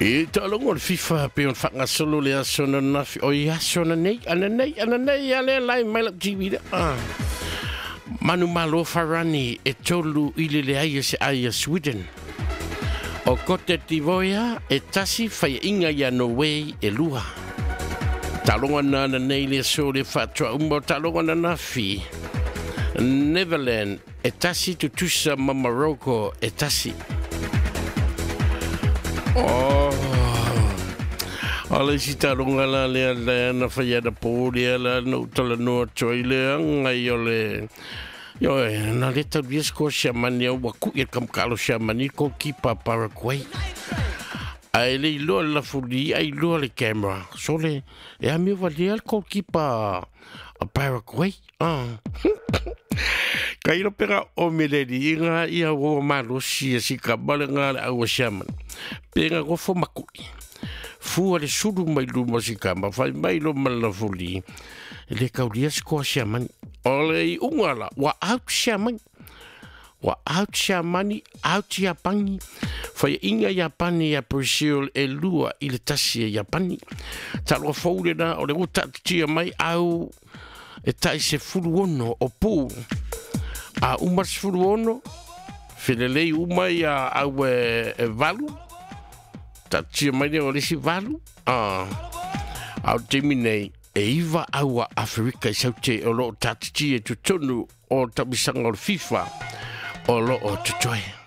I taaloga o le FIFA pei ona faagasolo le aso ananafi, oi aso ananei, ananei, ananei a lea lae mai lau TV lea. Ah. Manumalo Farani e 3-0 e se ai a Sweden. O Cote d'Ivoire e 1 faiaʻiga ia Norway e 2. Taaloga na ananei le aso le faatoa uma o taaloga ananafi. Netherland e 1 tutusa ma Morocco e 1. Oh. O le isi taaloga la lea lea na fai anapo lea la na ou talanoa atu ai lea ngai o le Ioe, na le taulia se koa Siamani au ua kuʻi e le kamukalo Siamani le goalkeeper a Paraguay. Ae le iloa le lafuli ai iloa le camera. Sole, e amio valea le goalkeeper a Paraguay. Ah. Ka ilo pega o meleli i ngā ia ua malosi e sika male ngā le aua Siamani. Pe ngā gofo makui. Fua le sulu mai luma sika ma fai mai lo ma le lafuli. E le kaulia se koa Siamani. O le iuga la, ua out Siamani. Ua out Siamani, out Iapani. Faiaʻiga Iapani ia Brazil e 2-1 e Iapani. Taaloga fou lena o le ua taatitia mai au e tai 16 o pu. A uma le 16, felelei uma ia au e 8. Taatitia mai lea o le isi 8. A, a o le taimi nei, e 9 au a Aferika i saute o loo taatitia i totonu o tauisaga o le FIFA o loo totoe.